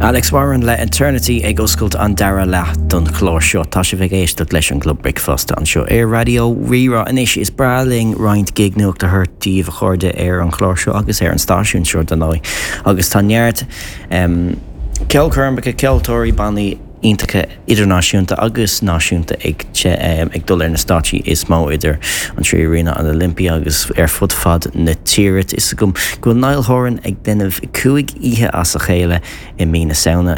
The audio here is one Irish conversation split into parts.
Alex Warren le Eternity ag oscailt an dara leath don chlár seo. Tá sibh ag éisteacht leis an gClub Bricfeasta anseo ar Raidió Rí-Rá. Anois, is breá linn roinnt gig nuachta a thabhairt daoibh, a chairde, ar an chlár seo agus ar an stáisiún seo, dar ndóigh. Agus tá neart ceolchoirmeacha, ceoltóirí, bannaí iontacha idirnáisiúnta agus náisiúnta ag ag dul ar na stáitsí is mó idir an 3Arena, an Olympia agus ar fud fad na tíre. Tá 'fhios agam go bhfuil Niall Horan ag déanamh 5 oíche as a chéile i mí na Samhna,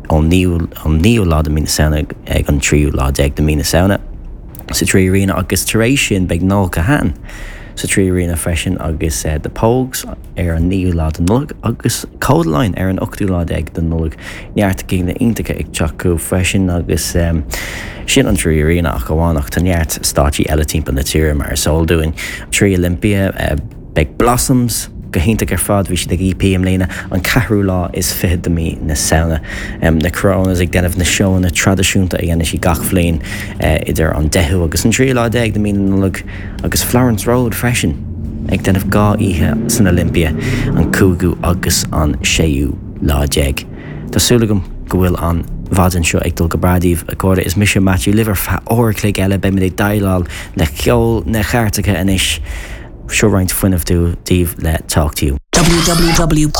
ón naoú lá de mí na Samhna ag an tríú lá déag de mí na Samhna sa 3Arena agus tar éis sin beidh Noel Kahane sa 3Arena freisin agus The Pogues ar an naoú lá de Nollaig agus Kodaline ar an ochtú lá déag de Nollaig. Neart gigeanna iontacha ag teacht chugaibh freisin agus sin an 3Arena ach amháin ach tá neart stáitsí eile timpeall na tíre mar is eol dúinn. 3 Olympia, beidh Blossoms go hiontach ar fad, bhí siad ag EP i mbliana, an ceathrú lá is fichead de mí na Samhna. Na Coronas ag déanamh na seóanna traidisiúnta a dhéanann siad gach bhliain idir an deichiú agus an tríú lá déag de mí na Nollag agus Florence Road freisin ag déanamh 2 oíche san Olympia, an cúigiú agus an séú lá déag. Tá súil agam go bhfuil an mhaidin seo ag dul go breá daoibh, a chairde. Is mise Matthew libh ar feadh uair a chloig eile. Beimid ag déileáil le ceol na gcairteacha anois. Seo roinnt fuinnimh daoibh le Talk to You. www.rrr.ie.